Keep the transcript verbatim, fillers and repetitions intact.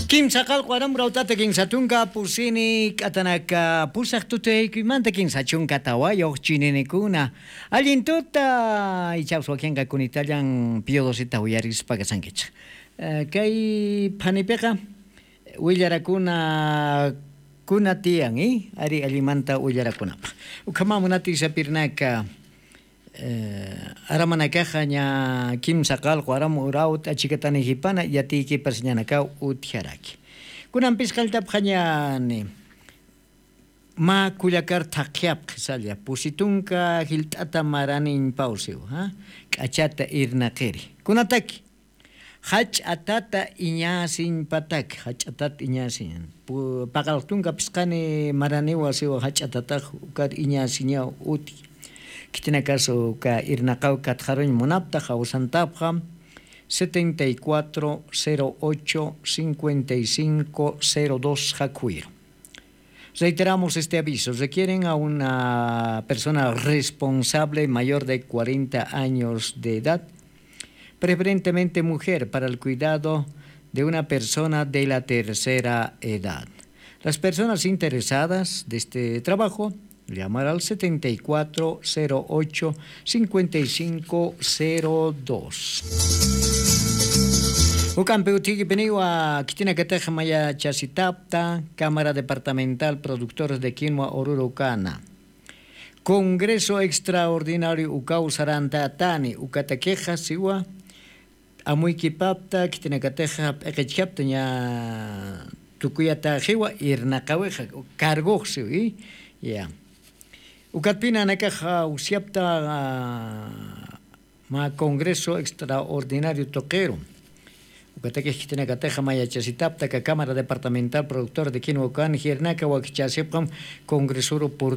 Kimsa qalqu aram rawt'ata kinsa tunka pusini k'atanaka pusax tutuyaykuymanta kinsa chunka tawayux chininikuna. Allin tuta, ichaws wakinqa kunitallan piyodosita uyarispa kasankichix. Kay phanipiqa willarakuna kuna tiyan i ari allimanta willarakunapaq. Ukhama munati sapirnaka, aramanakaxa ña kimsa qalqu aram urawt'a chikatanijipana yatiykipasiñanakaw utjaraki. Kunampis qalltapxañani mä kullakar thaqhiyapxi salla pusi tunka jilt'ata maraniñpaw siwa. K'achata irnaqiri kunataki jach'a tata iñäsiñpataki jach'a tata iñäsiñ. Paqalq tunka phisqani maraniwa siwa jach'a tatax ukar iñäsiñaw utji. Khitinakasu uka irnaqaw katxaruñ munapta jawsantapxa setenta y cuatro cero ocho cincuenta y cinco cero dos jakhuwiru. Reiteramos este aviso. Requieren a una persona responsable mayor de cuarenta años de edad, preferentemente mujer, para el cuidado de una persona de la tercera edad. Las personas interesadas de este trabajo, llamar al setenta y cuatro cero ocho cincuenta y cinco cero dos. Ukampi utjikipiniwa khitinakatax mayachasitapta Cámara Departamental Productores de Quinua Oruro Cana. Congreso extraordinario ukaw sarantatani ukatakixa siwa. Amuykipapta khitinakatixa p'iqichkapta ña tukuyataxiwa irnaqawixa cargox siwi. Ya, ukatpina nakaxa usyapta ma congreso extraordinario tuqiru. Ukatakix khitinakatixa mayachasitapta ka cámara departamental productor de quinua ukan jirnaka wakichasipxam congresuru por